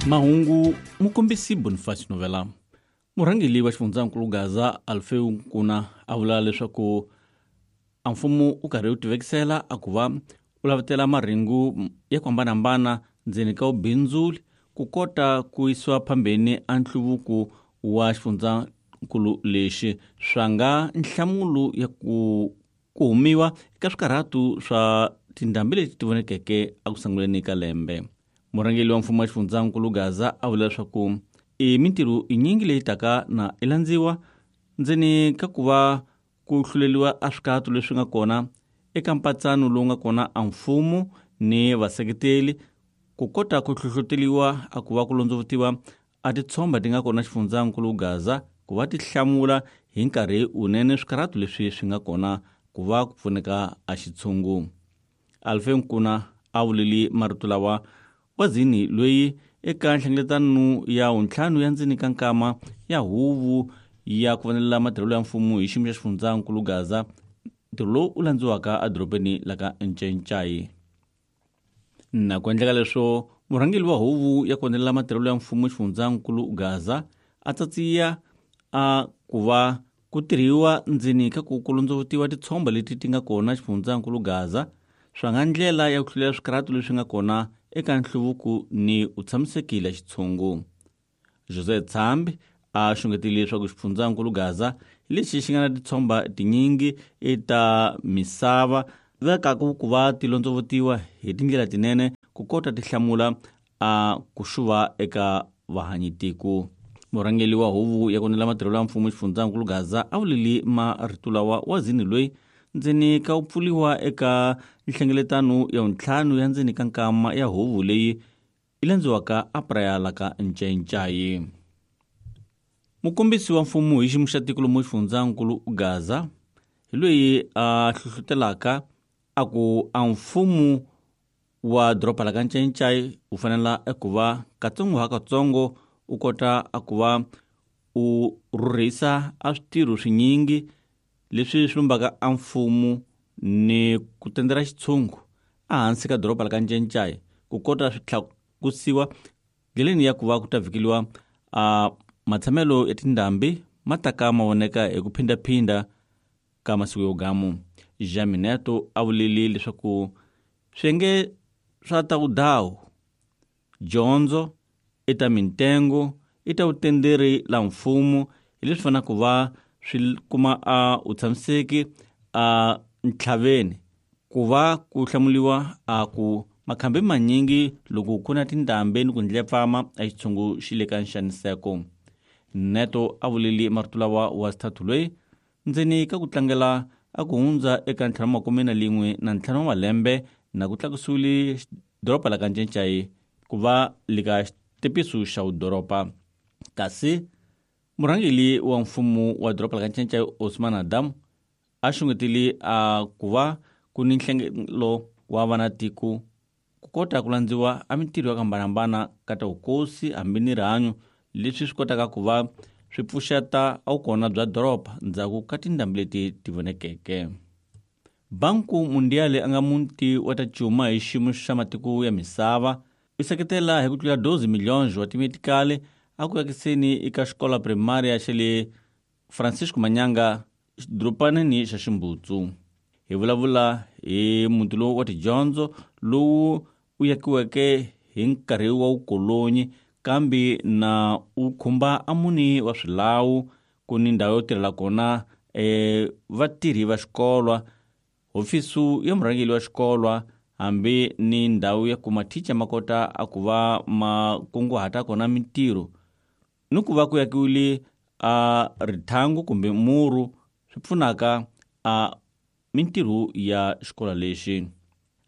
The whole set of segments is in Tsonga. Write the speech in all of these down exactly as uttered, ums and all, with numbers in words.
Mahungu mukombisi Boniface Novela. Murhangeri wa xifundzankulu Gaza Alfeu Nkuna a vula leswaku a mfumo u karhi wu tivekisela a ku va u lavatela marhengu ya ku hambanahambana ndzeni ka vubindzuli ku kota ku yisiwa phambeni a nhluvuko wa xifundzankulu lexi swa nga nhlamulo ya ku ku humiwa eka swikarhatu swa tindhambi leti ti vonekeke eku sunguleni ka lembe. Murhangeri wa mfumo wa xifundzankulu Gaza a vula leswaku i mintirho yinyingi leyi taka na i landziwa ndzeni ka ku va ku hluleliwa a swikatu leswi nga kona eka mpatsano lowu nga kona a mfumo ni vaseketeli ku kota ku hlohloteriwa a ku va ku londzovutiwa a titshomba ti nga kona xifundzankulu Gaza ku va ti hlamula hi nkarhi wunene swikarhatu leswi swi nga kona ku va ku pfuneka a xitshungu. Alfe Nkuna a vuleli marito lawa wazini loyi eka nhlengeletano ya wuntlhanu ya ndzeni ka nkama ya huvo ya ku vonelela matirhelo ya mfumo hi xiyimo xa xifundzankulu Gaza, ntirho lowu u landziwaka edorobeni la ka Ncencai. Na ku endleka leswo murhangeri wa huvo ya ku vonelela matirhelo ya mfumo xifundzankulu Gaza a tsatsiya a ku va ku tirhiwa ndzeni ka ku ku londzovutiwa titshomba leti ti nga kona xifundzankulu Gaza swa nga ndlela ya ku hlulela swikarhatu leswi nga kona eka nhluvuko ni u tshamisekile xitshungu. Jose Tsambi a xungetile leswaku xifundzankulu Gaza lexi xi nga na titshomba tinyingi eta misava vekaku ku va ti londzovutiwa hi tindlela tinene ku kota ti hlamula a ku xuva eka vahanyitiko. Murhangeri wa huvo ya ku nela matirhelo ya mfumo xifundzankulu Gaza a vuleli marito lawa wazini loyi ndzeni ka ku pfuliwa eka nhlengeletano ya wuntlhanu ya ndzeni ka nkama ya huvo leyi yi landziwaka a Praia la ka Ncencai. Mukombisi wa mfumo hi xiyimo xa tiko lomu xifundzankulu Gaza hi loyi a hlohlotelaka a ku a mfumo wa doroba la ka Ncencai wu fanela eku va katsongo ha katsongo u kota a ku va u rhurhisa a switirho swinyingi leswi swi lumbaka a mfumo ni ku tendela xitshungu ehansi ka doroba la ka Ncencai ku kota swi tlakusiwa ndleleni ya ku va ku ta vhikeliwa a matshamelo ya tindhambi ma ta ka ma voneka hi ku phindaphinda ka masiku yo gamu. Jamineto a vuleli leswaku swiyenge swa ta vudawu, dyondzo, i ta mintengo, i ta vutenderi la mfumo hi leswi fanelaka ku va swi kuma a u tshamiseki a ntlhaveni ku va ku hlamuliwa a ku makhambi manyingi loko ku na tindhambi ni ku ndlepfama a xitshungu xi le ka nxaniseko. Neto a vuleli marito lawa wa xithathu loyi ndzeni ka ku tlangela a ku hundza eka ntlhanu makume na lin'we na ntlhanu wa malembe na ku tlakusiwile doroba la ka Ncencai ku va le ka xitepiso xa vudoroba. Kasi murhangeri wa mfumo wa doroba la ka Ncencai Osman Adam a xungetile a ku va ku ni nhlengelo wa vanatiko ku kota ku landziwa a mintirho ya ku hambanahambana ka ta vukosi hambi ni rihanyo leswi swi kotaka ku va swi pfuxeta a vukona bya doroba ndzhaku ka tindhambi leti ti vonekeke. Banku Mundial a nga muti wa ta cuma hi xiyimo xa matiko ya misava u seketela hi ku tlula doze milhões wa timetikali a ku akiseni eka xikola primária xa le Francisco Manyanga xidorobaneni xa Ximbutsu. Hi vulavula hi muti lowu wa tidyondzo lowu u yakiweke hi nkarhi wa vukolonyi kambe na u khumba a muni wa swilawu ku ni ndhawu yo tirhela kona e vatirhi va xikolwa, hofisi ya murhangeri wa xikolwa hambi ni ndhawu ya ku mathicha ma kota a ku va ma kunguhata kona mintirho ni ku va ku yakiwile a rithangu kumbe muru swi pfunaka a mintirho ya xikolo lexi.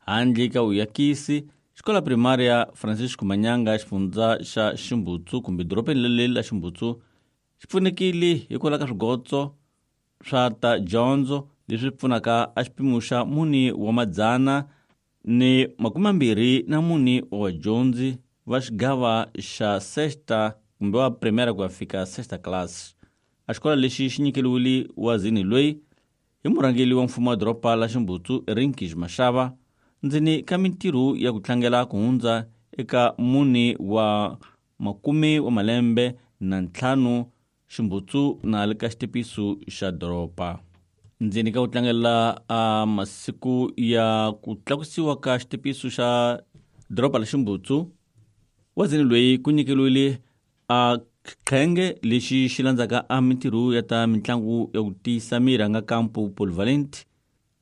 Handle ka vuyakisi, xikola primária Francisco Manyanga xifundza xa Ximbutsu kumbe dorobeni leli la Ximbutsu xi pfunekile hikwalaho ka swigotso swa ta dyondzo leswi pfunaka a xipimo xa mune wa madzana ni makume mambirhi na mune wa vadyondzi va xigava xa sexta kumbe wa primaire ku ya fika sexta class. A xikolo lexi xi nyikeriwile wazini loyi hi murhangeri wa mfumo wa doroba la Ximbutsu Rinkish Mashava ndzeni ka mintirho ya ku tlangela ku hundza eka mune wa makume wa malembe na ntlhanu Ximbutsu na le ka xitepiso xa doroba. Ndzeni ka ku tlangela a masiku ya ku tlakusiwa ka xitepiso xa doroba la Ximbutsu, wazini loyi ku nyikeliwile a qhenge lexi xi landzaka a mintirho ya ta mitlangu ya ku tiyisa miri a nga kampo polyvalent.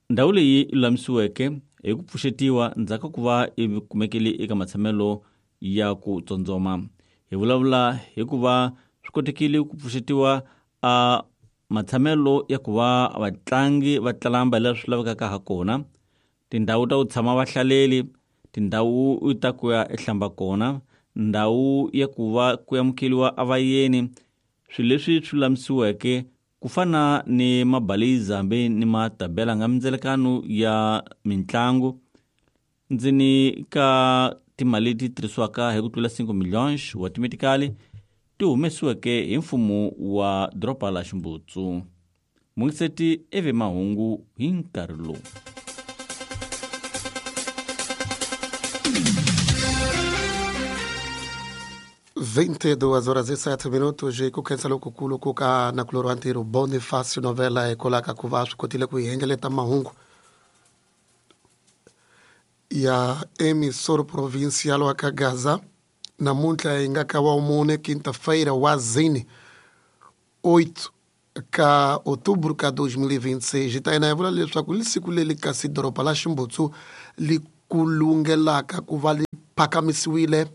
Ndhawu leyi lulamisiweke hi ku pfuxetiwa ndzhaku ka ku va yi kumekile eka matshamelo ya ku tsondzoma. Hi vulavula hi ku va swi kotekile ku pfuxetiwa a matshamelo ya ku va vatlangi va tlamba leswi lavekaka ha kona, tindhawu ta ku tshama vahlaleli, tindhawu ta ku ya ehlamba kona, ndhawu ya ku va ku amukeriwa a vayeni, swilo leswi swi lulamisiweke ku fana ni mabaliza hambi ni matabela nga mindzelekano ya mitlangu. Ndzeni ka timali leti tirhisiwaka hi ku tlula cinco milhões wa timetikali ti humesiweke hi mfumo wa doroba la Ximbutsu. Mungiseti eve mahungu hi nkarhi lowu. vinte e duas horas e sete minutos e ku khensa lokukulu ku ka nakulorhi wa ntirho Bonifacio Novela hikwalaho ka ku va swi kotile ku hi hengeleta mahungu ya emissor provincial wa ka Gaza. Namuntlha hi nga ka wa mune quinta-feira wa zine oito ka outubro ka dois mil e vinte e seis. Hi ta yena hi vula leswaku li siku leri kasi doroba la Ximbutsu li kulungelaka ku va li phakamisiwile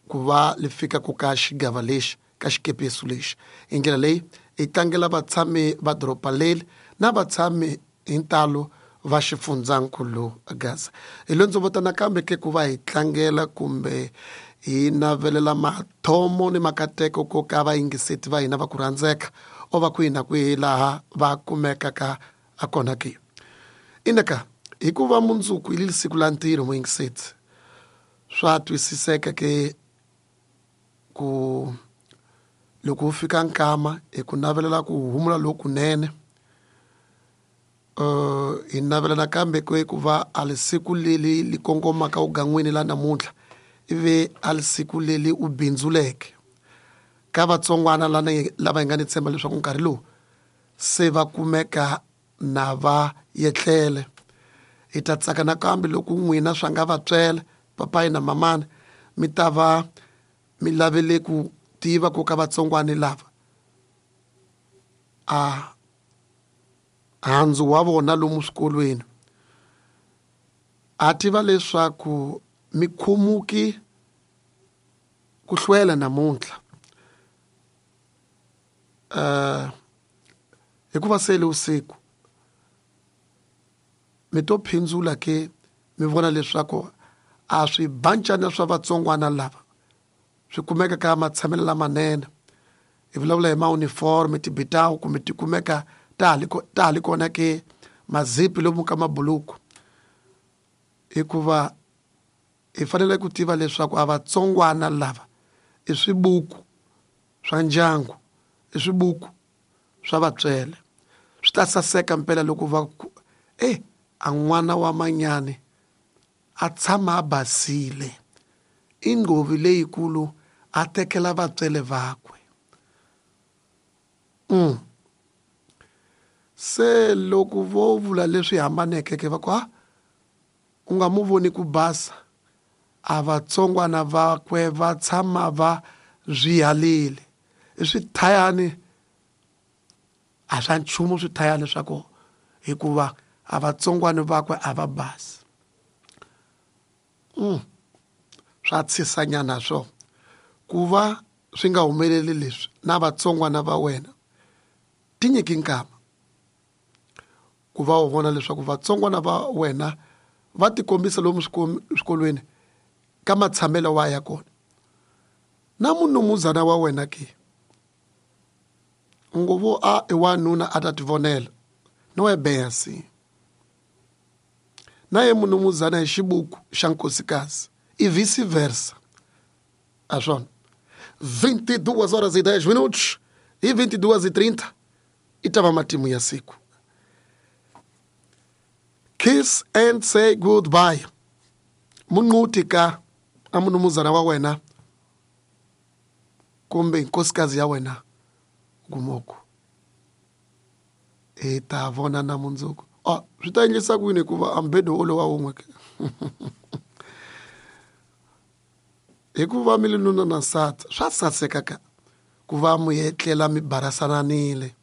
ku va li fika ku ka xigava lexi ka xikepesu lexi. Hi ndlela leyi hi tlangela vatshami va doroba leri na vatshami hi ntalo va xifundzankulu Gaza. Hi lo ndzo vota nakambe ke ku va hi tlangela kumbe hi navelela mathomo ni makateko ko ka vayingiseti va hina va ku rhandzeka o va kwihi na kwihi laha va kumekaka a kona ke. Inaka hikuva mundzuku hi siku la ntirho muyingiseti swa twisiseka ke ku loko u fika nkama hi ku navelela ku humula lokunene. Uh, hi navela nakambe ku ku va a li siku leri li kongomaka ugan'wini la namuntlha ivi a li siku leri u bindzuleke ka vatsongwana lana lava hi nga ni tshemba leswaku nkarhi lowu se va kumeka na va yetlele. Hi ta tsaka nakambe loko n'wina swa nga va tswela papayi na mamana mi ta va mi lavele ku tiva ku ka vatsongwana lava a handzu wa vona lomu swikolweni a tiva leswaku mi khumuki ku hlwela namuntlha uh, hikuva sele usiku mi to phindzula ke mi vona leswaku a swi bancana swa vatsongwana lava swi kumeka ka matshamelo lamanene. Hi vulavula hi ma-uniform tibitawu kumbe ti kumeka ta ha li kona ke mazipi lomu ka mabuluku, hikuva hi fanele ku tiva leswaku a vatsongwana lava i swibuku swa ndyangu, i swibuku swa vatswele. Swi ta saseka mpela loko va ku e a n'wana wa manyani a tshama a basile i nghovi leyikulu a tekela vatswele vakwe. Mm. Se loko vo vula leswi hambaneke ke va ku ha u nga mu voni ku basa a vatsongwana vakwe va tshama va swihalile i swithayani a swa nchumu swithayani swa kona hikuva a vatsongwana vakwe a va basi. Mm. Swa tshisanyana swo ku va swi nga humeleli leswi na vatsongwana va wena ti nyiki nkama ku va u vona leswaku vatsongwana va wena va tikombisa lomu swikolweni ka matshamelo wa ya kona na munumuzana wa wena ke ngovo a i wanuna a ta tivonela no é bem assim. Na ye munumuzana hi xibuku xa nkosikazi e vice-versa. A swona vinte e duas horas e dez minutos e vinte e duas e trinta i ta va matimu ya siku. Kiss and say goodbye. Munquti ka a munumuzana wa wena Kumbe nkosikazi ya wena gumoko hi ta vona na mundzuku. Ah, swi ta endlisa ku yini hikuva a mbedo wolowo wa wun'we ke? Hikuva mi li nuna na nsati swa saseka ka ku va mi etlela mi barasananile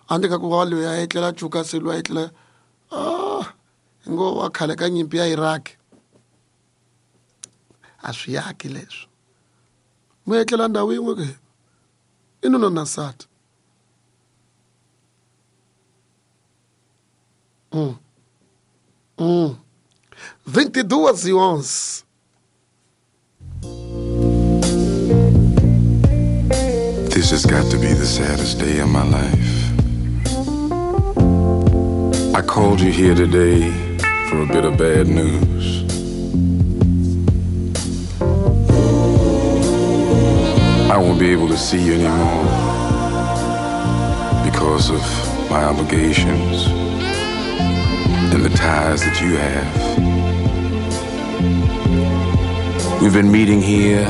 handle ka ku va loyi a etlela cuka se loyi a etlela ah ngo wa khale ka nyimpi ya Iraq a swi yaki leswo mi etlela ndhawu yin'we ke i nuna na nsati. Mm. Mm. vinte e duas e onze. This has got to be the saddest day of my life. I called you here today for a bit of bad news. I won't be able to see you anymore because of my obligations and the ties that you have. We've been meeting here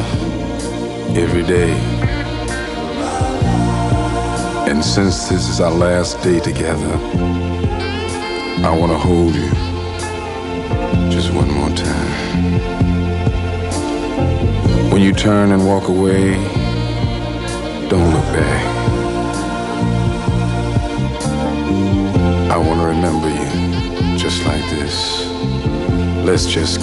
every day. And since this is our last day together, I want to hold you just one more time. When you turn and walk away, don't look back. I want to remember you just like this. Let's just